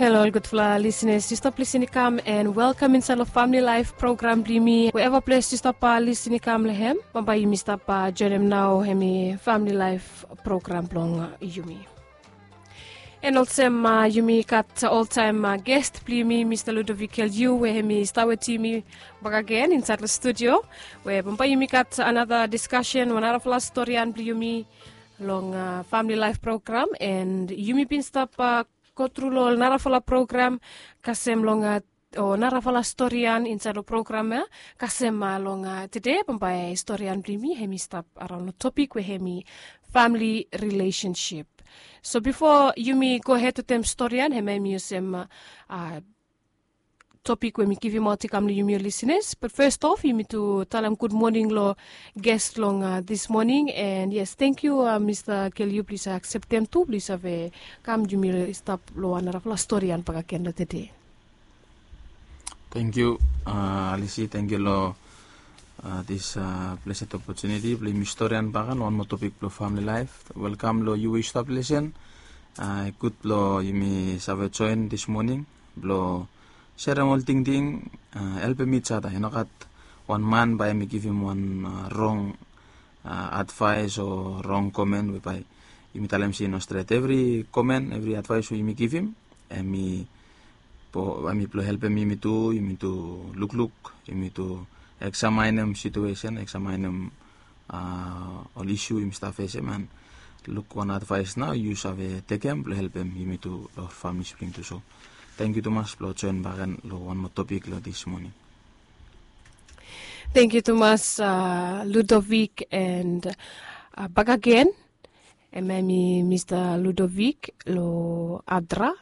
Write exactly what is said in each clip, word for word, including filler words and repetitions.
Halo ol gudfala lisenas, yu stap lisin i kam, and welkam insait long Family Life program blong yumi. Wherever ples yu stap lisin i kam long hem, bambae yumi stap joinim nao hemi Family Life program blong yumi. And olsem yumi gat oltaem ges blong yumi, Mista Ludovic Kelyu, we hemi stap wetem yumi bakagen insait long studio, we bambae yumi gat anata diskasen, wan narafala storian blong yumi long Family Life program. And yumi bin stap go tru long ol narafala program kasem long o narafala storian insait long program ya. Kasem long tede, bambae storian blong yumi hemi stap araon long topik we hemi family relationship. So bifo yumi gohed wetem storian, hemia hemi olsem topik we mi givimaot i kam long yumi ol lisenas. But first off, yumi tu talem gud moning long ges long this moning. And yes, tangkiu Mista Kelyu, plis akseptem tu blong yu save kam, yumi stap long wan narafala storian bakagen long tede. Tangkiu Alisi, tangkiu long this blessed opportunity blong yumi storian baka long wan moa topik blong family life. Welkam long yu we yu stap lisin. Gud blong yumi save joen this moning blong serem ol tingting, helpem each other. I no gat wan man bae hemi givim wan rong advaes o rong komen we bae yumi talem se i no stret. Evri komen, evri advaes we yumi givim, hemi blong helpem yumi tu, yumi tu lukluk, yumi tu eksaminim situesen, eksaminim ol isu yumi stap fesem, and luk wan advaes nao yu save tekem blong helpem yumi tu long famili sibling tu. So tangkiu tumas blong joen bakagen long wan moa topik long this moning. Tangkiu tumas Ludovic, and bakagen hemia hemi Mista Ludovic long Adra,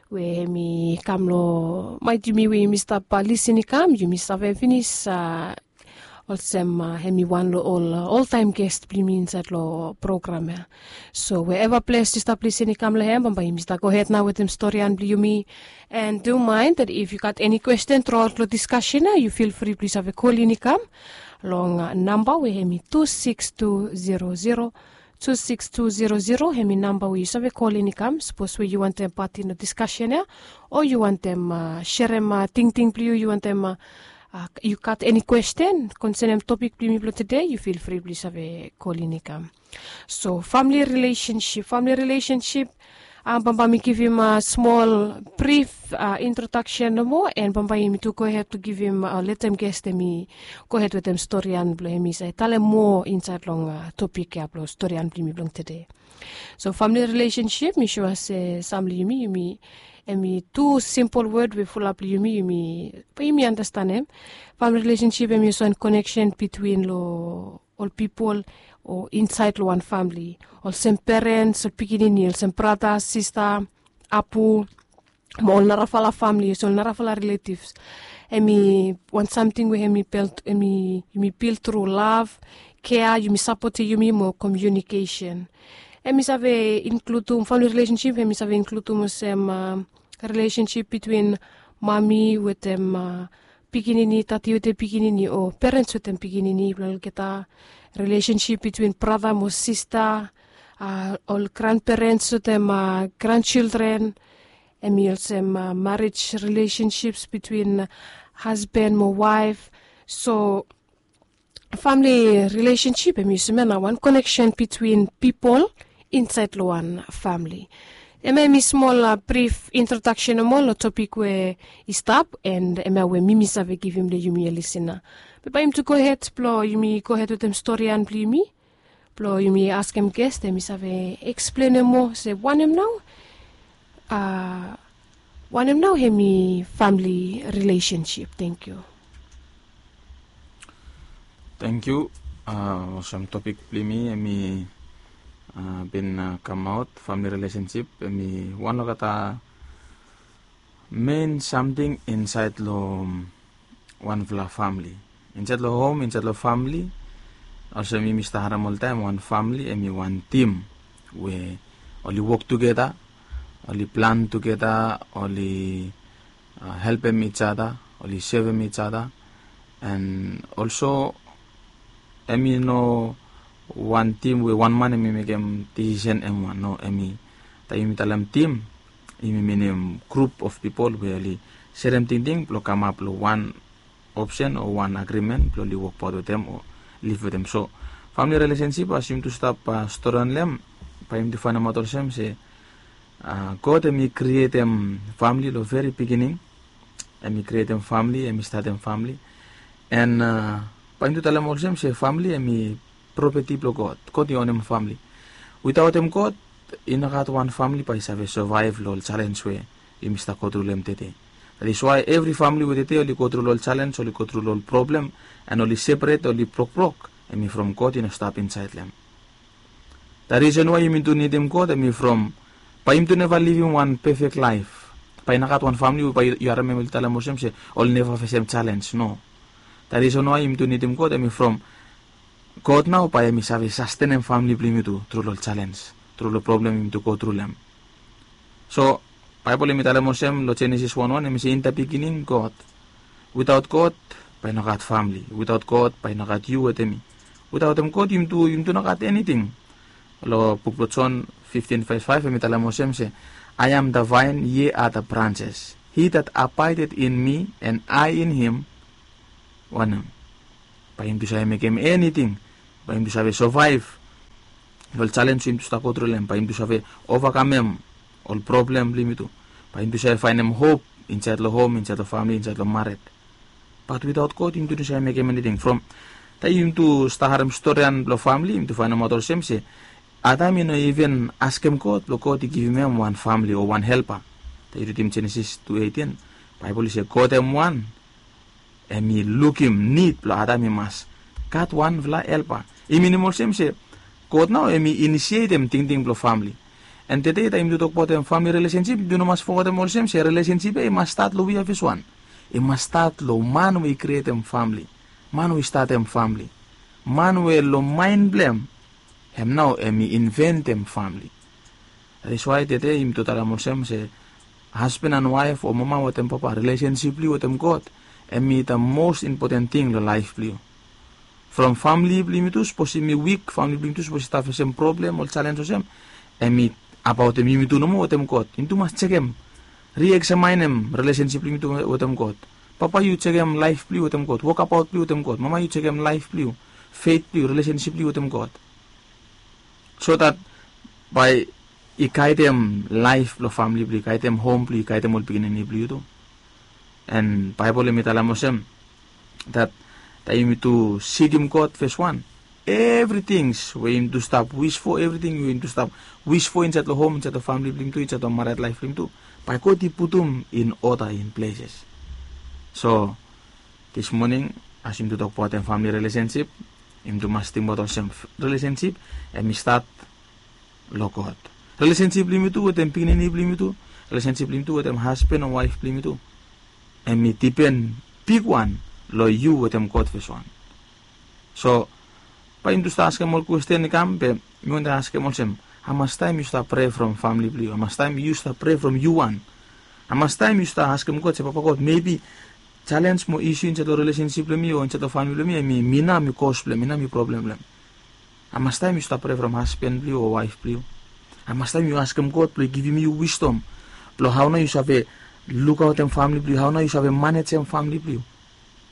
we hemi kam long maet yumi we yumi stap lisin i kam. Yumi save finis olsem hemi wan long ol oltaem ges blong yumi insait long program ya. So wherever ples yu stap lisin i kam long hem, bambae yumi stap gohed nao wetem storian blong yumi. And do mind that if yu gat eni kwesten truaot long diskasen ya, yu feel free blong yu save kolin i kam long namba we hemi tu sikis tu zero zero, tu sikis tu zero zero, hemi namba we yu save kolin i kam sapos we yu wantem patin long diskasen ya, o yu wantem serem tingting blong yu, yu wantem yu gat eni kwesten konsenem topik blong yumi blong tede, yu feel free blong yu save kolin i kam. So famili rilesensip, famili rilesensip, bambae mi givim smol brif introdaksen nomo, and bambae yumi tu gohed blong givim, letem ges hemi gohed wetem storian blong hemi save talem moa insait long topik ya blong storian blong yumi blong tede. So famili rilesensip, mi sua se sam long yumi, yumi, hemi tu simpol wod we fulap long yumi, yumi, bae yumi andastanem. Famili rilesensip hemi olsem wan koneksen bitwin long ol pipol o insait long wan famili, olsem perens, ol pikinini, olsem brata, sista, apu, mo ol narafala famili, olsem ol narafala riletivs. Hemi wan samting we hemi bil, hemi, yumi bil tru lav, kea, yumi sapotem yumi mo komiunikesen. Hemi save inkludim, famili rilesensip hemi save inkludim olsem rilesensip bitwin mami wetem pikinini, dadi wetem pikinini, o perens wetem pikinini blong olgeta, rilesensip bitwin brata mo sista, ol granperens wetem granchildren, hemi olsem marij rilesensip bitwin hasban mo waef. So famili rilesensip hemi olsem ya, na wan koneksen bitwin pipol insait long wan famili. Hemia hemi smol brif introdaksen nomo long topik we i stap, and hemia we mi mi save givim long yumi ol lisina. Be bae yumi tu gohed blong yumi gohed wetem storian blong yumi, blong yumi askem ges hemi save eksplenem moa se wanem nao, wanem nao hemi famili rilesensip. Tangkiu. Tangkiu. Olsem topik blong yumi hemi bin kamaot, famili rilesensip hemi wan long olgeta mein samting insait long wanfala famili. Insait long hom, insait long famili, olsem yumi stap harem oltaem, wan famili hemi wan tim we oli wok tugeta, oli plan tugeta, oli helpem each other, oli sevem each other. And also hemi no wan tim we wan man hemi mekem disisen hem wan. No, hemi, taem yumi talem tim, Yumi minim grup of pipol we oli serem tingting blong kamap long wan opsen o wan agrimen blong oli wokbaot wetem o liv wetem. So famili rilesensip, as yumi tu stap stori long hem, bae yumi tu faenemaot olsem se God hem i krietem famili long veri pikinini. Hem i krietem famili, hem i statem famili. An bae yumi tu talem olsem se famili hem i propeti blong God. God i onem famili. Witaotem God, i no gat wan famili bae i save sovaev long ol jalenj we yumi stap gotru long hem tede. That is why evri famili we tede oli gotru long ol jalenj, oli gotru long ol problem, an oli seperet, oli brokbrok, hem i from God i no stap insaed long hem. That reason why yumi tu nidim God hem i from, bae yumi tu neva livim wan pefek laef. Bae i no gat wan famili we bae yu harem hem oli talem olsem se oli neva fesem jalenj, no. That reason why yumi tu nidim God hem i from God nao bae hem i save sastenem famili blong yumi tu tru long jalenj, tru long problem yumi tu gotru long hem. So Baebol hem i talem olsem long Jenesis wan wan, hem i se, in the beginning God. Witaot God bae i no gat famili. Witaot God bae i no gat yu wetem mi. Witaotem God yumi tu, yumi tu no gat eniting. Long buk blong Jon fifteen verse five hem i talem olsem se, I am the vine, ye are the branches. He that abideth in me and I in him, wanem, bae yumi tu save mekem eniting. Bae yumi tu save sovaev long ol jalenj we yumi tu stap gotru long hem. Bae yumi tu save ovakamem ol problem blong yumi tu. Bae yumi tu save faenem hop insaed long hom, insaed long famili, insaed long mared. Bat witaot God yumi tu no save mekem eniting. From taem yumi tu stap harem storian blong famili yumi tu faenemaot olsem se Adam i no iven askem God blong God i givim hem wan famili o wan helpa. Taem yu ridim Jenesis tu eitin, Baebol i se God hem wan, hem i lukim nid blong Adam i mas gat wanfala helpa. I minim olsem se God nao hem i inisietem tingting blong famili. An tede taem yumi tu tokbaot famili rilesensip, yumi tu no mas fogetem olsem se rilesensip ya i mas stat long we ya fes wan. I mas stat long man we i krietem famili, man we i statem famili, man we long maen blong hem, hem nao hem i inventem famili. That is why tede yumi tu talem olsem se hasban an waef o mama wetem papa, rilesensip blong yu wetem God hem i the most important ting long laef blong yu. From famili blong yumi tu, sapos yumi wik, famili blong yumi tu sapos i stap fesem problem, ol jalenj olsem, hem i abaotem yumi tu nomo wetem God. Yumi tu mas jekem, rieksamenem rilesensip blong yumi tu wetem God. Papa, yu jekem laef blong yu wetem God. Wokabaot blong yu wetem God. Mama, yu jekem laef blong yu, feit blong yu, rilesensip blong yu wetem God. So that bae i gaedem laef blong famili blong yu, gaedem hom blong yu, gaedem ol pikinini blong yu tu. An Baebol hem i talem olsem, that taem yumi tu sikim God fes wan, evri tings we yumi tu stap wis fo, evriting we yumi tu stap wis fo insaed long hom, insaed long famili blong yumi tu, insaed long mared laef blong yumi tu, bae God i putum in order, in places. So this morning, as yumi tu tokbaot famili rilesensip, yumi tu mas tingbaot olsem, rilesensip hem i stat long God. Rilesensip blong yumi tu wetem pikinini blong yumi tu, rilesensip blong yumi tu wetem hasban o waef blong yumi tu, hem i dipen bigwan long yu wetem God fes wan. So bae yumi tu stap askem ol kwesten i kam, be mi wantem askem olsem, hamastaem yu stap prea from famili blong yu? Hamastaem yu stap prea from yu wan? Hamastaem yu stap askem God se, Papa God, mebi jalenj mo isu insaed long rilesensip blong mi o insaed long famili blong mi, hem i mi nao mi kos blong hem, mi nao mi problem blong hem? Hamastaem yu stap prea from hasban blong yu o waef blong yu? Hamastaem yu askem God blong i givim yu wisdom blong hao nao yu save lukaotem famili blong yu, hao nao yu save manejem famili blong yu?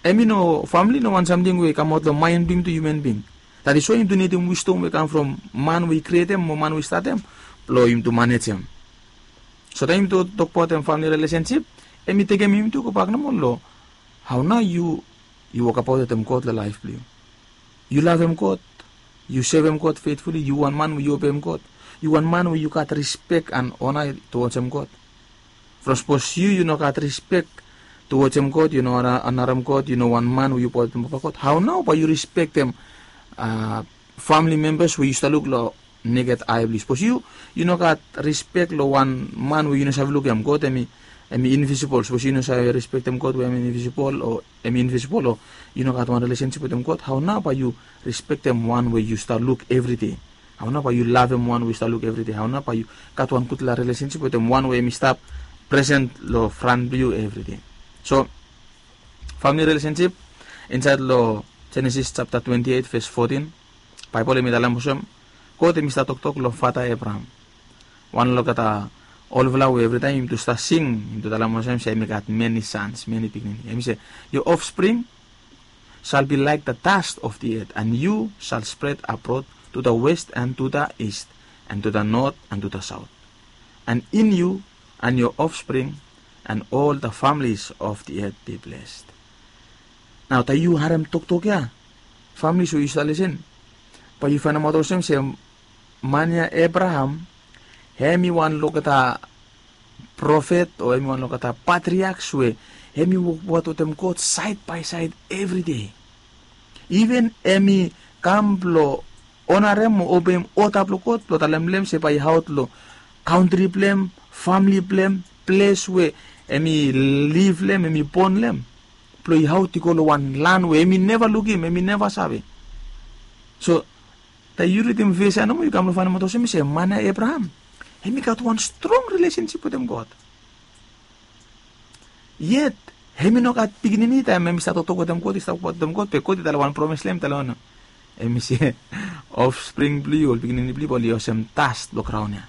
Hem i no, famili i no wan samting we i kamaot long maen blong yumi tu, hiuman bing. That is why yumi tu nidim wisdom we i kam from man we i krietem o man we i statem blong yumi tu manejem. So taem yumi tu tokbaot famili rilesensip, hem i tekem yumi tu gobak nomo long hao nao yu, yu wokabaot wetem God long laef blong yu. Yu lavem God, yu sevem God feitfuli, yu wan man we yu obeem God, yu wan man we yu gat rispek an ona tuwojem God. From sapos yu, yu no gat rispek tuwojem God, yu no onarem God, yu no wan man we yu baotem Papa God, hao nao bae yu rispektem famili membas we yu stap luk long neked ae blong yu? Sapos yu, yu no gat rispek long wan man we yu no save luk hem, God hem i, hem i invisibol. Sapos yu no save rispektem God we hem i invisibol o hem i invisibol, o yu no gat wan rilesensip wetem God, hao nao bae yu rispektem wan we yu stap luk evri dei? Hao nao bae yu lavem wan we yu stap luk evri dei? Hao nao bae yu gat wan gudfala rilesensip wetem wan we hem i stap presen long fran blong yu evri dei? So famili rilesensip, insaed long Jenesis japta twenti eit ves fotin, Baebol hem i talem olsem, God hem i stap toktok long fata Ebraham. Wan olgeta Olfala we evritaem yumi tu stap sing, yumi tu talem olsem se yumi gat meni sans, meni pikinini. Yumi se, your offspring shall be like the dust of the earth, and you shall spread abroad to the west and to the east, and to the north and to the south. And in you and your offspring and all the families of the earth be blessed. Nao taem yu harem toktok ya, families we yu stap lesen, bae yu faenemaot olsem se man ya Abraham, hem i wan logeta profet o hem i wan logeta patriaks we hem i wokbaot wetem God saed bae saed evri dei. Iven hem i kam blong onarem o obeim oda blong God blong talem long hem se bae i aot long kantri blong hem, famili blong hem, ples we hem i liv long hem, hem i bon long hem, blong i aot i go long wan lan we hem i neva lukim, hem i neva save. So taem yu ridim ves ya nomo yu kam long faenemaot olsem se man ya Abraham, hem i gat wan strong rilesensip wetem God. Yet hem i no gat pikinini taem hem i stap toktok wetem God, i stap wokbaot wetem God, be God i talem wan promes long hem, talem wanem? Hem i se, offspring blong yu, ol pikinini blong yu bae oli olsem dust blong graon ya,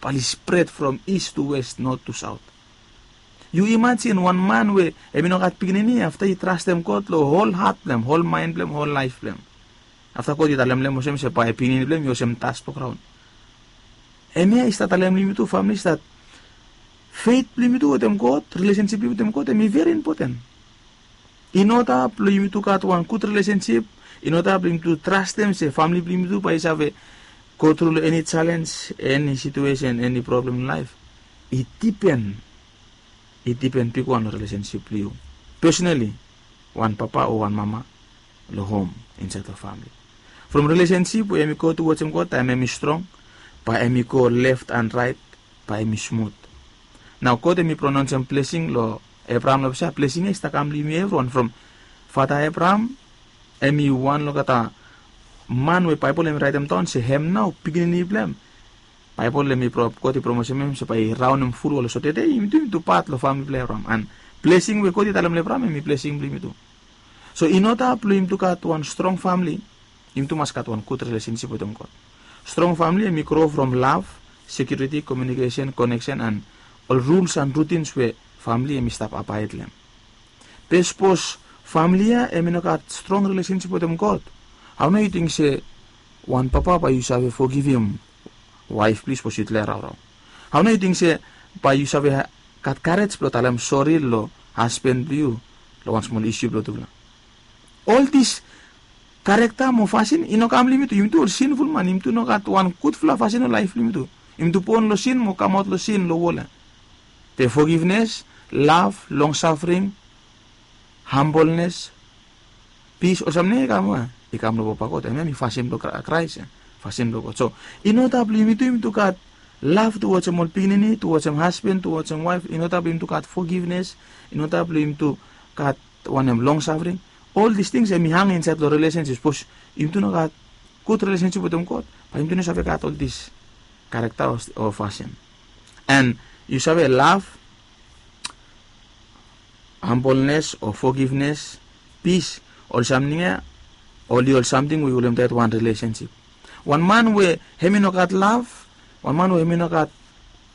bae oli spread from east to west, north to south. Yu imajin wan man we hem i no gat pikinini, afta i trastem God long hol hat blong hem, hol maen blong hem, hol laef blong hem. Afta God i talem long hem olsem se bae pikinini blong hem i olsem dust blong graon. Hemia i stap talem long yumi tu, famili, se dat feit blong yumi tu wetem God, rilesensip blong yumi tu wetem God, hem i veri impoten. In order blong yumi tu gat wan gud rilesensip, in order blong yumi tu trastem se famili blong yumi tu bae i save go tru long eni jalenj, eni situesen, eni problem long laef, i dipen, i dipen bigwan long rilesensip blong yu pesonali, wan papa o wan mama long hom, insaed long famili. From rilesensip we hem i go tuwaj hem God, taem hem i strong, bae hem i go left and right, bae hem i smut. Nao God hem i pronaonsem blesing long Abraham long olsem blesing ya i stap kam long yumi evriwan. From fata Abraham, hem i wan long olgeta man we Baebol hem i raetemdaon se hem nao pikinini blong hem. Baebol hem i pro-, God i promisim hem se bae i raonem fulwol. So tede yumi tu, yumi tu pat long famili blong Abraham. And blesing we God i talem long Abraham hem i blesing blong yumi tu. So in order blong yumi tu gat wan strong famili, yumi tu mas gat wan gud rilesensip wetem God. Strong famili hem i gro from lav, sekiuriti, komiunikesen, koneksen, and ol ruls and rutins we famili hem i stap abaed long hem. Be sapos famili ya hem i no gat strong rilesensip wetem God, hao nao yu ting se wan papa bae yu save fogivim waef blong yu sapos yutufala i raorao? Hao nao yu ting se bae yu save ha-, gat karej blong talem sori long hasben blong yu long wan smol isu blong tufala? Ol dis karekta mo fasin i no kam long yumi tu. Yumi tu ol sinful man, yumi tu no gat wan gudfala fasin long laef blong yumi tu. Yumi tu bon long sin mo kamaot long sin long wol ya. Be fogivnes, lav, longsafring, hambolnes, pis, ol samting ya i kam we? I kam long Papa God. Hemia hem i fasin blong Kra-, Kraes ya. Fasin blong God. So in order blong yumi tu, yumi tu gat lav tuwajem ol pikinini, tuwajem hasben, tuwajem waef, in order blong yumi tu gat fogivnes, in order blong yumi tu gat wanem, longsafring. Ol dis tings hem i hang insaed long rilesensip. Sapos yumi tu no gat gud rilesensip wetem God, bae yumi tu no save gat ol dis karekta o, o fasin. And yu save, lav, hambolnes o fogivnes, pis, ol samting ya oli ol samting we i holem taet wan rilesensip. Wan man we hem i no gat lav, wan man we hem i no gat,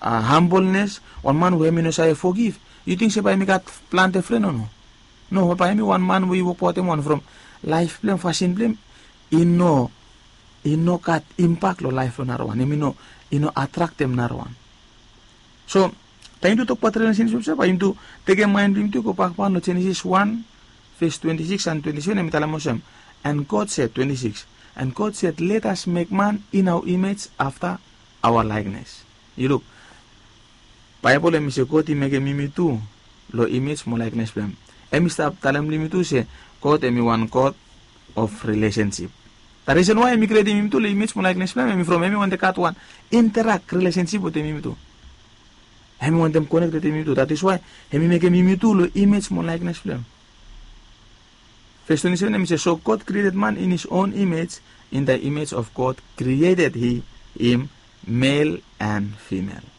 a, hambolnes, wan man we hem i no save fogiv, yu ting se bae hem i gat plante fren o no? No, bae hem i wan man we i wokbaotem wan from laef blong hem, fasin blong hem i no, i no gat impak long laef blong narawan. Hem i no, i no atraktem narawan. So taem yumi tu tokbaot rilesensip ya, bae yumi tu tekem maen blong yumi tu go bakban long Jenesis wan, ves twenti sikis and twenti seven, hem i talem olsem, and God said, twenti sikis, and God said, let us make man in our image, after our likeness. Yu luk, Baebol hem i se God i mekem yumi tu long imej mo laeknes blong hem. Hem i stap talem long yumi tu se God hem i wan God of rilesensip. The reason why hem i krietem yumi tu long imej mo laeknes blong hem, hem i from hem i wantem gat wan interak rilesensip wetem yumi tu. Hem i wantem konek wetem yumi tu. That is why hem i mekem yumi tu long imej mo laeknes blong hem. Ves twenti seven hem i se, so God created man in his own image, in the image of God created he him, male and female.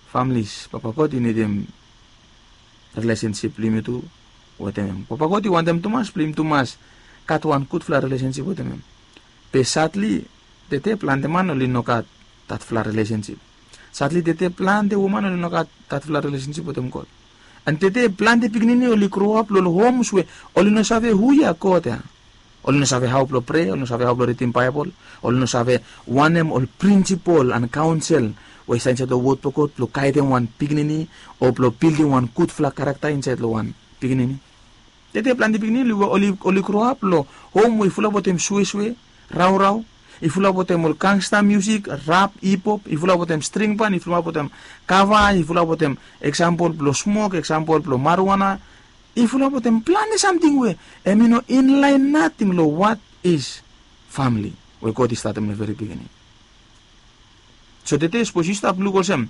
Families, Papa God i nidim rilesensip blong yumi tu wetem hem. Papa God i wantem tumas blong yumi tu mas gat wan gudfala rilesensip wetem hem. Be sadly, tede plante man oli no gat datfala rilesensip. Sadli tete plante woman oli no gat datfala rilesensip wetem God. An tete plante pikinini oli groap long homs we oli no save hu ya God ya. Oli no save hao blong prea, oli no save hao blong ridim Baebol, oli no save wanem ol prinsipol an kaonsel we i stap insaed long wod blong God blong gaedem wan pikinini o blong bildim wan gudfala karakta insaed long wan pikinini. Tete plante pikinini oli, oli groap long hom we i fulap wetem suesue, raorao, i fulap wetem ol gangsta musik, rap, hip hop, i fulap wetem string ban, i fulap wetem kava, i fulap wetem eksampol blong smok, eksampol blong marijuana, i fulap wetem plante samting we hemi no inlaen nating long what is famili we God i statem long veri pikinini. So tete sapos yu stap luk olsem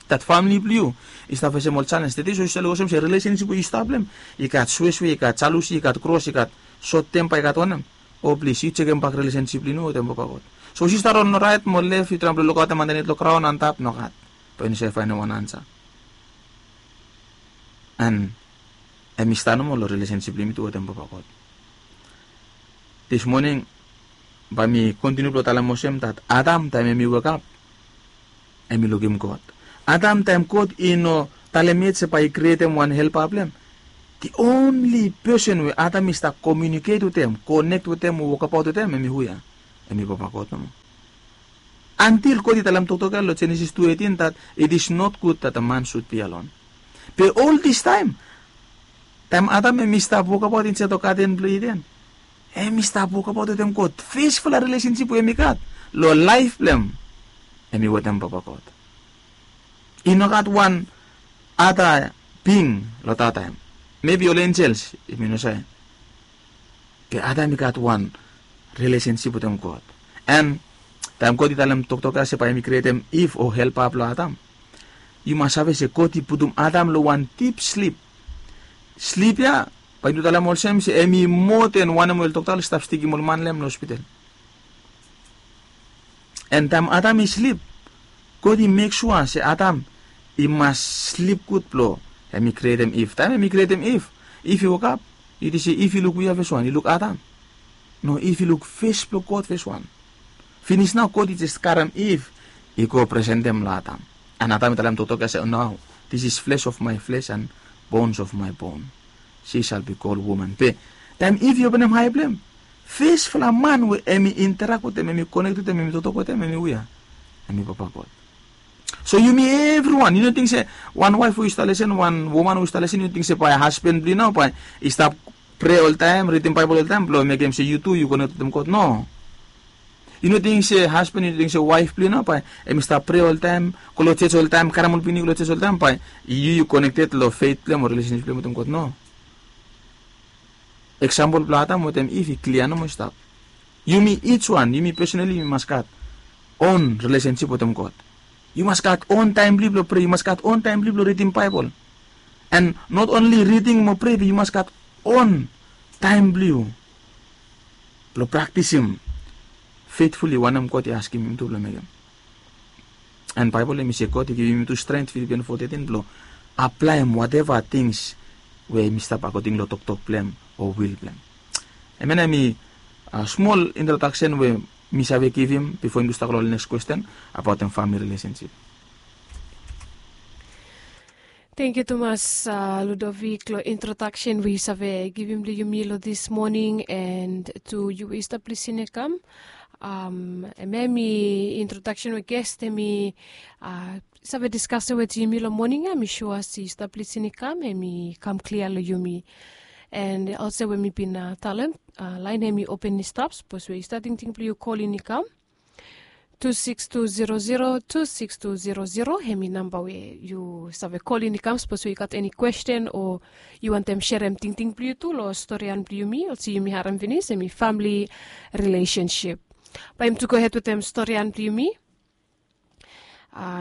dat famili blong yu i stap fesem ol selens tete, so yu stap luk olsem se rilesensip we yu stap long hem i gat suesue, i gat jalusi, i gat kros, i gat sot tempa, i gat wanem. O plis yu jekem bak rilesensip blong yu wetem Papa God. Sapos yu stap raon long raet mo lef, yu traem blong lukaotem andanit long graon antap, nogat. Bae yu no save faenem wan ansa. An hemi stap nomo long rilesensip blong yumi tu wetem Papa God. Dis moning bae mi kontiniu blong talem olsem dat Adam taem hemi wekap, hemi lukim God. Adam taem God i no talem yet se bae i krietem wan helpa blong hem, the only person we Adam i stap komiuniket wetem, konek wetem o wokabaot wetem, hemi hu ya? Hemi Papa God nomo. Antil God i talem toktok ya long Jenesis tu eitin dat it is not good that a man should be alone. Be ol distaem, taem Adam hemi stap wokabaot insaed long gaden blong Iden, hemi stap wokabaot wetem God. Fesfala rilesensip we hemi gat long laef blong hem, hemi wetem Papa God. I no gat wan ada bing long dat taem. Mebi ol enjels, yumi no save. Be Adam i gat wan rilesensip wetem God. An taem God i talem toktok ya se bae hemi krietem Iv o helpa blong Adam, yu mas save se God i putum Adam long wan dip slip. Slip ya bae yumi talem olsem se hemi moa den wanem we ol dokta oli stap stikim ol man long hem long hospital. An taem Adam i slip, God i mek sua se Adam i mas slip gud blong hemi krietem Iv. Taem hemi krietem Iv, Iv i wokap, yu ting se Iv i luk hu ya fes wan? I luk Adam? No, Iv i luk fes blong God fes wan. Finis nao God i jes karem Iv i go presentem long Adam. An Adam i talem toktok ya se, "Nao this is flesh of my flesh and bones of my bone. She shall be called woman." Be taem Iv i openem ae blong hem, fesfala man we hemi interak wetem, hemi konek wetem, hemi toktok wetem, hemi hu ya? Hemi Papa God. So yumi evriwan, yu no ting se wan waef we yu stap lesen, wan woman we yu stap lesen, yu no ting se bae hasban blong yu nao bae i stap prea oltaem, ridim Baebol oltaem blong mekem se yu tu yu konek wetem God? No. Yu no ting se hasban, yu no ting se waef blong yu nao bae hemi stap prea oltaem, go long jos oltaem, karem ol pikinini go long jos oltaem, bae yu yu konekted long feit blong hem o rilesensip blong hem wetem God? No. Eksampol blong Adam wetem Iv i klia nomo i stap. Yumi ij wan, yumi pesonali yumi mas gat on rilesensip wetem God. Yu mas gat on taem blong yu blong prea, yu mas gat on taem blong yu blong ridim Baebol. An not onli riding mo prea, be yu mas gat on taem blong yu blong praktisim feitfuli wanem God i askim yumi tu blong mekem. An Baebol hemi se God i givim yumi tu stren, Filipian fo tetin, blong aplaem wateva tings we hemi stap akoding long toktok blong hem o wil blong hem. Hemia nao hemi smol introdaksen we mi save givim bifo yumi tu stap go long ol neks kwesten abaotem famili rilesensip. Tangkiu tumas, Ludovik, long introdaksen we yu save givim long yumi long dis moning, an tu yu we yu stap lisin ya kam. Hemia hemi introdaksen we ges hemi save diskasem wetem yumi long moning ya, mi sua se yu stap lisin ya kam, hemi kam klia long yumi. An olsem we mi bin talem, laen hemi open i stap, sapos we yu stap tingting blong yu kolin i kam. Tu sikis tu zero zero, tu sikis tu zero zero, hemi namba we yu save kolin i kam sapos we yu gat eni kwesten o yu wantem serem tingting blong yu tu long storian blong yumi, olsem yumi harem finis, hemi famili rilesensip. Bae yumi tu gohed wetem storian blong yumi.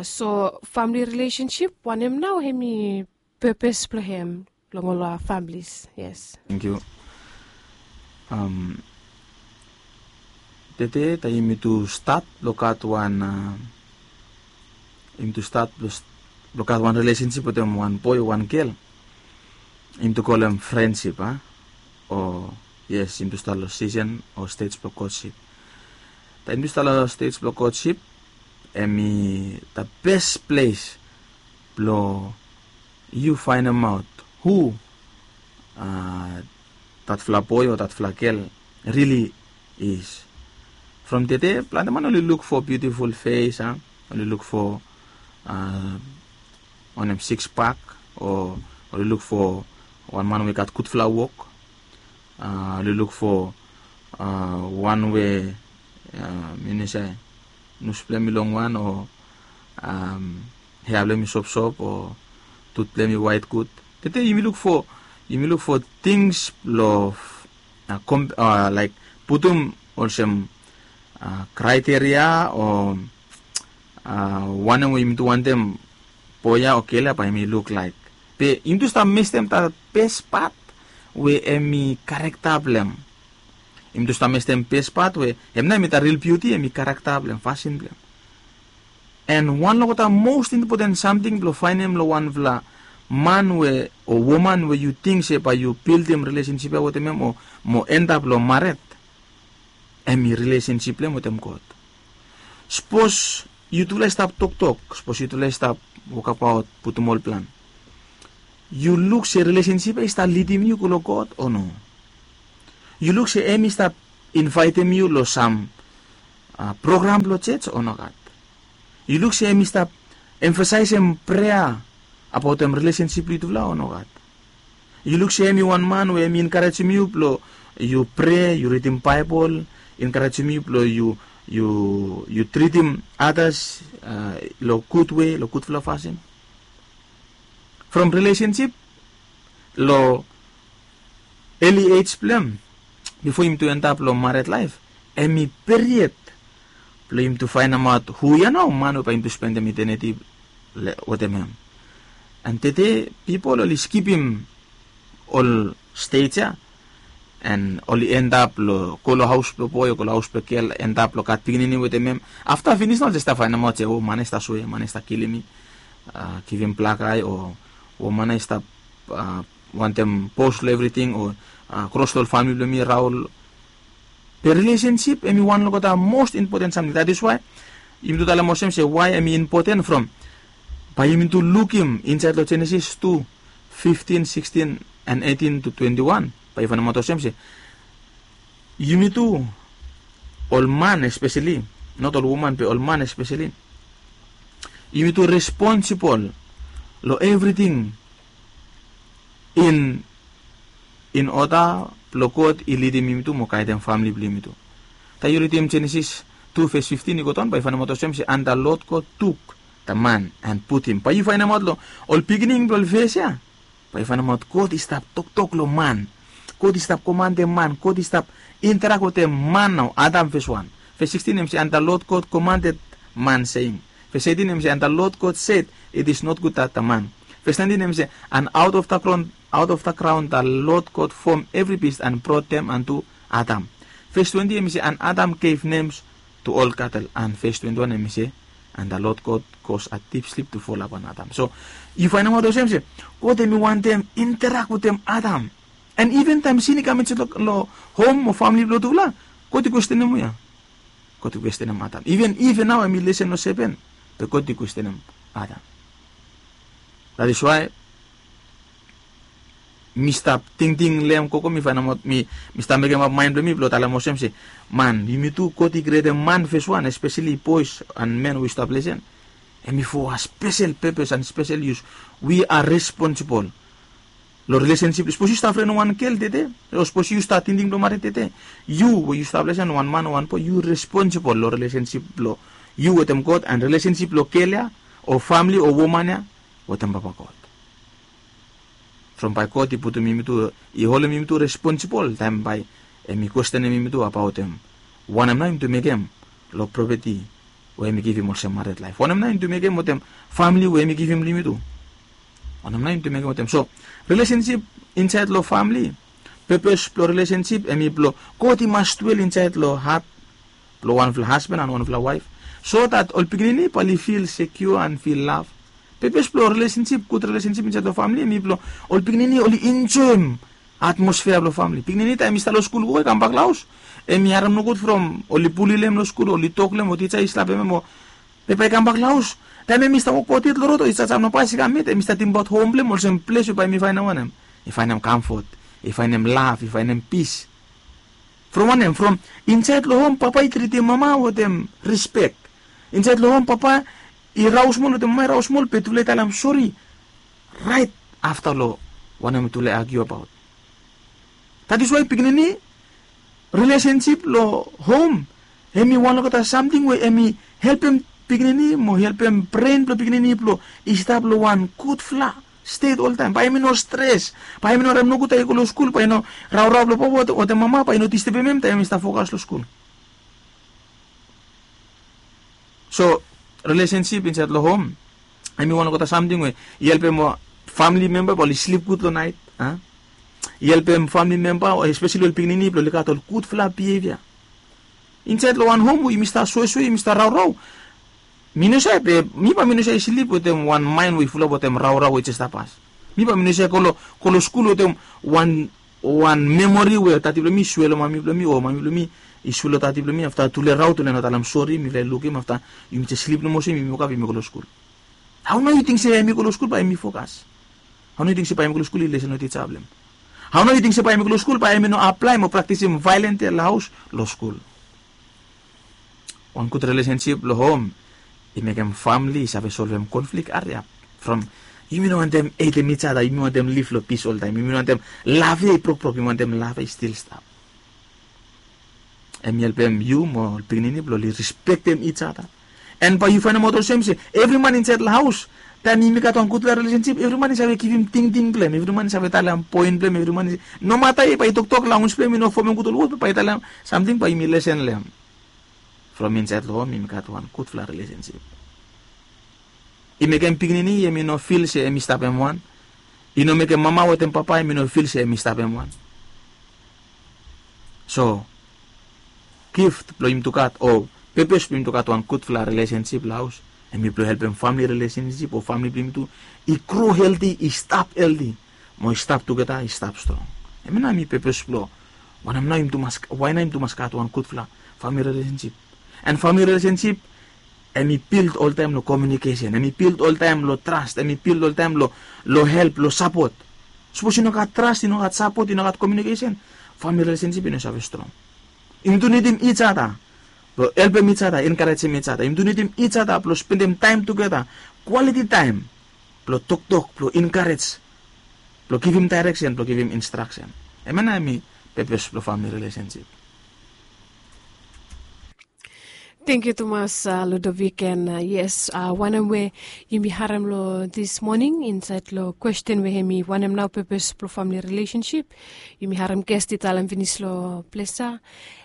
So famili rilesensip, wanem nao hemi pepes blong hem long ol familis? Yes. Tangkiu. Tede taem yumi tu stat blong gat wan, yumi tu stat blong gat wan rilesensip wetem wan boe o wan gel, yumi tu kolem frensip, a? O yes, yumi tu stat long sisen o stej blong kotsip. Taem yumi tu stat long stej blong kotsip, Em i the best place blong yu fainemaot hu, uh, that fla boy o that fla girl really is. From tede planti man oli luk for beautiful face, uh, oli luk for, uh, wanem, six pack, o oli luk for wan man we gat gudfala wok. Uh, oli luk for, uh, wan we, uh, mi ni se nus blong em i long wan, o, um, hea blong em i sopsop, o tut blong em i waet gud. Tede yumi luk for, yumi luk for tings blong, uh, kom, uh, laik putum olsem, uh, kraiteria o, uh, wanem we yumi tu wantem boy ya o gel ya bae em i luk laik. Be yumi tu stap mestem that best part we em i karakta blong em. Yumi tu stap mestem best part we em nao em i the real beauty, em i karakta blong em, fasin blong em. And wan long the most important samting blong faenem long wanfala man we, o woman we yu ting se bae yu bildim rilesensip ya wetem em, o mo endap long mared, em i rilesensip blong em wetem God. Sapos yutufala i stap toktok, sapos yutufala i stap wokabaot, putum ol plan, yu luk se rilesensip ya i stap lidim yu go long God o no? Yu luk se em i stap invaetem yu long sam, uh, program blong jos o nogat? Yu luk se em i stap emfasaesem prea abaotem rilesensip blong yutufala o nogat? Yu luk se em i wan man we em i enkarejem yu blong yu prea, yu ridim Baebol, enkarejem yu blong yu, yu, yu tritim adas, uh, long gud wei, long gudfala fasin? From rilesensip long early age blong em, bifo yumi tu endap long mared laef, em i period blong yumi tu faenemaot hu ya nao man we bae yumi tu spendem eternity wetem em. And tede pipol oli skipim ol stej ya, and oli endap long go long haos blong boy o go long haos blong gel, endap long gat pikinini wetem em. Afta finis nao oli stap faenemaot se, o, man ya i stap sue, man ya i stap kilim mi, uh, givim blakae, o, o, man ya i stap, uh, wantem bos long evriting, o, uh, kros long ol famili blong mi raol. Be rilesensip em i wan long the most important samting. That is why yumi tu talem olsem se why em i impoten from, bae yumi tu lukim insaed long Jenesis tu, fiftin, sikstin, and eitin to twenti wan, bae yu faenemaot olsem se yumi tu, ol man espeseli, not ol woman be ol man espeseli, yumi tu responsibol long evriting in, in oda blong God i lidim yumi tu mo gaedem famili blong yumi tu. Taem yu ridim Jenesis tu ves fiftin i go daon, bae yu faenemaot olsem se, and the Lord God took the man and put him. Bae yu faenemaot long ol beginning blong ol ves ya, bae yu faenemaot God i stap toktok long man. God i stap komandem man. God i stap interak wetem man nao, Adam fes wan. Ves sikstin em se, and the Lord God commanded man, saying. Ves eitin em se, and the Lord God said, it is not good that the man. Ves naentin em se, and out of the ground, out of the ground the Lord God formed every beast and brought them unto Adam. Ves twenti em se, and Adam gave names to all cattle. And ves twenti wan em se, and the Lord God caused a deep sleep to fall upon Adam. So yu faenemaot olsem se God em i wantem interak wetem Adam. And even taem sin i kam insaed long, long hom o famili blong yutufala, God i kwestenem hu ya? God i kwestenem Adam. Even Iv nao em i lesen long sepen, be God i kwestenem Adam. That is why mi stap tingting long hem gogo, mi faenemaot, mi, mi stap mekemap maen blong mi blong talem olsem se, man, yumi tu, God i krietem man fes wan, espeseli boes and men we yu stap lesen, em i for a spesel pepes and spesel yus. We are responsible long rilesensip. Sapos yu stap fren wan gel tede, o sapos yu stap tingting blong mared tede, yu we yu stap lesen, wan man o wan boe, yu responsibol long rilesensip blong yu wetem God, and rilesensip blong gel ya o famili o woman ya wetem Papa God. From bae God i putum yumi tu, i holem yumi tu responsibol, taem bae em i kwestenem yumi tu abaotem wanem nao yumi tu mekem long propeti we em i givim olsem mared laef. Wanem nao yumi tu mekem wetem famili we em i givim long yumi tu? Wanem nao yumi tu mekem wetem? So rilesensip insaed long famili, pepes blong rilesensip em i blong God i mas dwel insaed long hat blong wanfala hasban and wanfala waef, so that ol pikinini bae oli fil sekiua and fil lav. Pepes blong rilesensip, gud rilesensip insaed long famili em i blong ol pikinini oli enjoem atmosfea blong famili. Pikinini taem i stap long skul gogo, i kambak long haos, em i harem nogud from oli buli long hem long skul, oli tok long hem, o tija i slapem hem, o Be bae i kambak long haus, taem em i stap wokbaot yet long rod o i stap long bas i kam yet, em i stap tingbaot hom blong em olsem ples we bae em i faenem wanem? I faenem kamfot, i faenem lav, i faenem pis. From wanem? From insaed long hom papa i tritim mama wetem rispek. Insaed long hom papa i rau smol wetem mama i rau smol, be tufala i talem sori raet afta long wanem we tufala i agiu abaot. That is why pikinini, relationship long hom, em i wan olgeta samting we em i helpem pikinini mo helpem bren blong pikinini blong i stap long wan gudfala stet oltaem. Bae em i no stres, bae em i no harem nogud taem i go long skul, bae i no raurau blong papa wetem mama bae i no distebem em taem em i stap fokas long skul. So, relationship insaed long hom, em i wan olgeta samting we i helpem famili memba blong oli slip gud long naet. I helpem famili memba, espeseli ol pikinini blong oli gat ol gudfala bievia. Insaed long wan hom we yumi stap suesue, yumi stap raurau. Mi no save, mi bae mi no save slip wetem wan maen we i fulap wetem raurau we i jes stap pas. Mi bae mi no save go long skul wetem wan wan memori we tati blong mi i sue long mami blong mi o mami blong mi i sue long tati blong mi, afta tufala i rau, tufala i no talem sori, mifala i lukim, afta yumi jes slip nomo olsem, yumi wokap, yumi go long skul. Hao nao yu ting se em i go long skul bae em i fokas? Hao nao yu ting se bae em i go long skul i lesen long tija blong em? Hao nao yu ting se bae em i go long skul bae em i no aplaem o praktisim vaeolens ya long haos, long skul? Wan gud rilesensip long hom i mekem famili i save solvem konflik hariap. From yumi no wantem hetem ijada, yumi wantem liv long pis oltaem, yumi no wantem lav ya i brokbrok, yumi wantem lav ya i stil stap. Em i helpem yu mo ol pikinini blong oli rispektem ijada. An bae yu faenemaot olsem se evri man insaed long haos, taem yumi gat wan gudfala rilesensip, evri man i save givim tingting blong em, evri man i save talem poen blong em, evri man i, nomata i bae i toktok, lanwis blong em i no fomem gud ol wod, be bae i talem samting, bae yumi lesen long em. From insaed long hom yumi gat wan gudfala rilesensip. I mekem pikinini em i no fil se em i stap em wan. I no mekem mama wetem papa em i no fil se em i stap em wan. So gift blong yumi tu gat o pepes blong yumi tu gat wan gudfala rilesensip long haos, em i blong helpem famili rilesensip o famili blong yumi tu i gro helti, i stap helti, mo i stap tugeta, i stap strong. Em ya nao em i pepes blong wanem nao yumi tu mas, wae nao yumi tu mas gat wan gudfala famili rilesensip. An famili rilesensip em i bild oltaem long komiunikesen, em i bild oltaem long tras, em i bild oltaem long, long help, long sapot. Sapos i no gat tras, i no gat sapot, i no gat komiunikesen, famili rilesensip i no save strong. Yumi tu nidim ijada blong helpem ijada, enkarejem ijada. Yumi tu nidim ijada blong spendem taem tugeta, kwaliti taem, blong toktok, blong enkarej, blong givim daereksen, blong givim instraksen. Em ya nao em i pepes blong famili rilesensip. Tangkiu tumas, Ludovic, an yes, wanem we yumi harem long dis moning insaed long kwesten we em i wanem nao pepes blong famili rilesensip, yumi harem gest i talem finis long ples ya.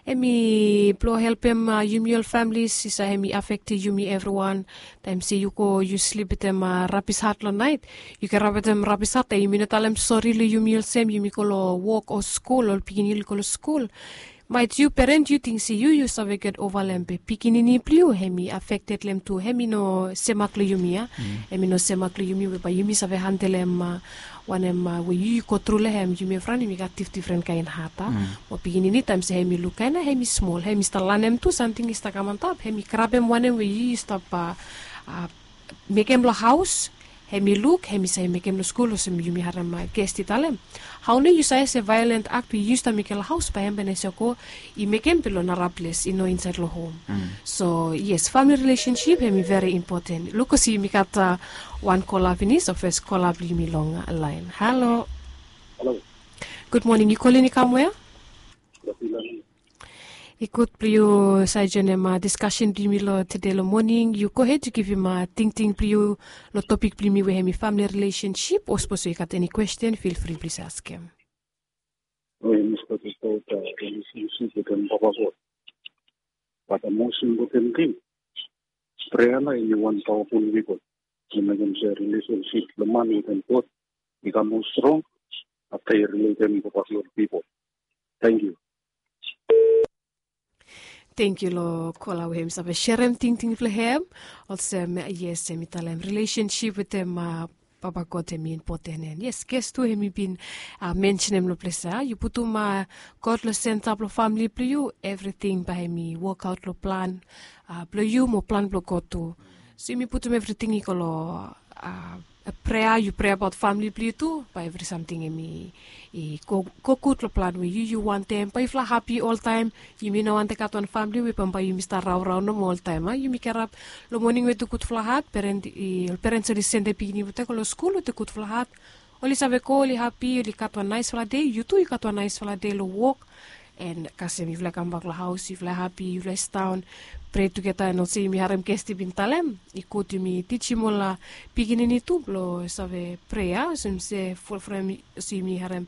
Em i blong helpem yumi ol familis i save, em i afektem yumi evriwan. Taem se yu go yu slip wetem rabis hat long naet, yu kirap wetem rabis hat, taem yumi no talem sori long yumi olsem, yumi go long wok o skul, ol pikinini oli go long skul. Maet yu peren yu ting se yu yu save get ova long em, be pikinini blong yu em i afekted long em tu, em i no semak long yumi ya. Em i no semak long yumi we bae yumi save handelem wanem we yu yu gotru long em. Yumi evriwan yumi gat difdifren kaen hat. Mo pikinini taem se em i luk kaen ya, em i smol, em i stap lanem tu samting i stap kam antap, em i grabem wanem we yu yu stap mekem long haos, em i luk, em i save mekem long skul olsem yumi harem gest i talem. Hao nao yu save se vaeolen akt we yu stap mekem long haos bae em bae i no save go i mekem be long nara ples, i no insaed long hom. So yes, famili rilesensip em i veri impoten. Luk olsem yumi gat wan kola finis, o fes kola blong yumi long laen. Halo. Gud moning, yu kolin i kam wea? I gud blong yu save joenem diskasen blong yumi long tede long moning. Yu gohed yu givim tingting blong yu long topik blong yumi we em i famili rilesensip, o sapos yu gat eni kwesten, fil fri blong yu save askem. Oi, mi stap tokbaot rilesensip wetem Papa God. Bat mos impoten ting, prea nao em i wan pawaful wepon blong mekem se rilesensip blong man wetem God i kam moa strong afta yu riletem Papa God pipol. Tangkiu. Tangkiu long kola we hem i save serem tingting blong hem. Olsem yes, hem i talem rilesensip wetem Papa God hem i impoten, an yes, ges tu hem i bin mensenem long ples ya, yu putum God long senta blong famili blong yu, evriting bae hem i wokaot long plan blong yu mo plan blong God tu. So yumi putum evriting i go long prea, yu prea abaot famili blong yu tu, bae evri samting hem i go gud long plan we yu yu wantem, bae yufala hapi oltaem. Yumi no wantem gat wan famili we bambae yumi stap raorao nomo oltaem a yumi kirap long moning wetem gudfala hat. Ol perens oli sendem pikinini blong olgeta go long skul wetem gudfala hat. Oli save go, oli hapi, oli gat wan naesfala dei, yu tu yu gat wan naesfala dei long wok. An kasem yufala i kambak long haos, yufala i hapi, yufala i sidaon, prea tugeta an olsem yumi harem ges i bin talem, i gud yumi tijim ol pikinini tu blong save prea olsem se fulfrem. Olsem yumi harem,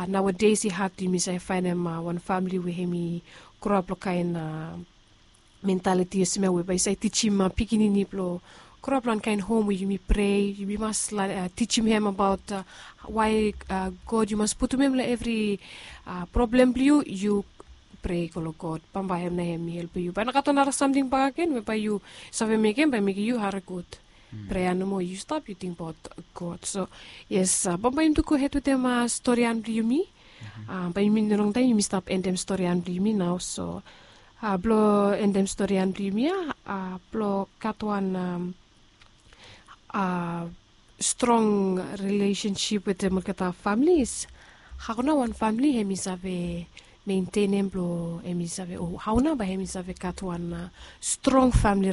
naoades i had yumi save faenem wan famili we hem i groap long kaen mentaliti olsem ya we bae i save tijim pikinini blong groap long wan kaen hom we yumi prea, yumi mas tijim hem abaot wae god yu mas putum hem long evri problem blong yu, yu prea go long god, bambae hem na hem i helpem yu, bae i no gat wan nara samting bak agen we bae yu save mekem bae mekem yu hari gud. Prea nomo, yu stap yu tingbaot god. So yes, bambae yumi tu gohed wetem storian blong yumi. Bae yumi no longtaem yumi stap endem storian blong yumi nao. So blong endem storian blong yumi ya, blong gat wan strong rilesensip wetem olgeta familis, hao nao wan famili hem i save mentenem blong hem i save o hao nao bae hem i save gat wan strong famili?